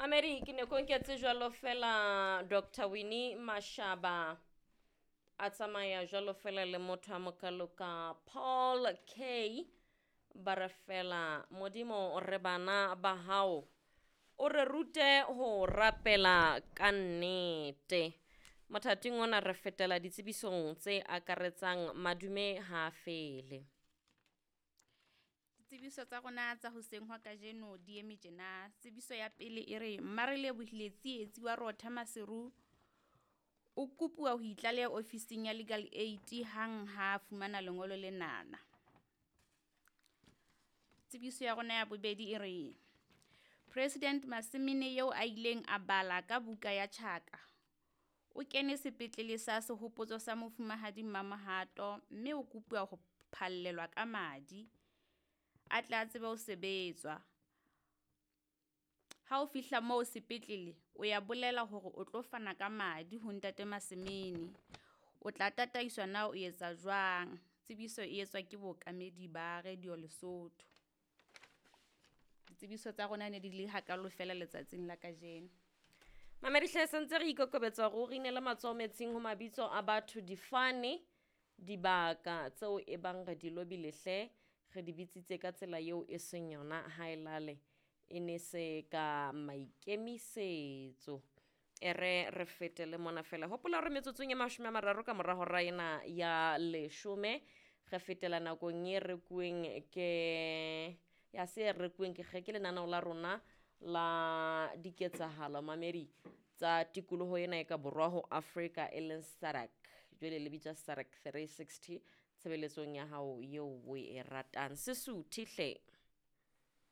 Mamedi, ke ne ko nketse jwalo fela Dr Winnie Mashaba a tsamaya jwalo fela le motho a mokalo ka Paul K. Ba re fela Modimo re bana ba hao, o re rute ho rapela ka nnete. Mothating ona re fetela ditsebisong tse akaretsang madume ha fele. Ditsebiso tsa rona tsa hoseng hwa kajeno di eme tjena. Tsebiso ya pele e re Mmarelebohile Tsietsi wa Rotha Maseru o kopuwa ho itlaleha ofising ya Legal Aid hang ha fumana lengolo lenana. Tsebiso ya rona ya bobedi e re President Masimene eo a ileng a bala ka buka ya Tjhaka o kene sepetlele sa sehopotso sa Mofumahadi Mamohato mme o kopuwa ho phallelwa ka madi a tle a tsebe ho sebetswa. Ha o fihla moo sepetlele o ya bolela hore o tlo fana ka madi ho ntate Masemene. O tla tataiswa na o etsa jwang. Tsebiso e etswa ke bookamedi ba Radio Lesotho. Ditsebiso tsa rona ne di le hakalo fela letsatsing la kajeno. Mamedi hle, sentse re ikokobetsa hore o re inele matsoho metsing ho mabitso a batho, difane, dibaka tseo e bang re di lobile hle, re di bitsitse ka tsela eo e seng yona ha e lale e ne se ka maikemisetso. E re re fetele mona fela. Hopola hore metsotsong e 30 ka mora hora ena ya 10 re fetela nakong e rekuweng ke ya se rekuweng ke ke lenaneo la rona la diketsahalo mamedi tsa tikoloho ena e ka borwa ho Afrika e leng SADC. Jwale le bitswa SADC 360 tshebeletsong ya hao eo o e ratang. Sesuthe hle.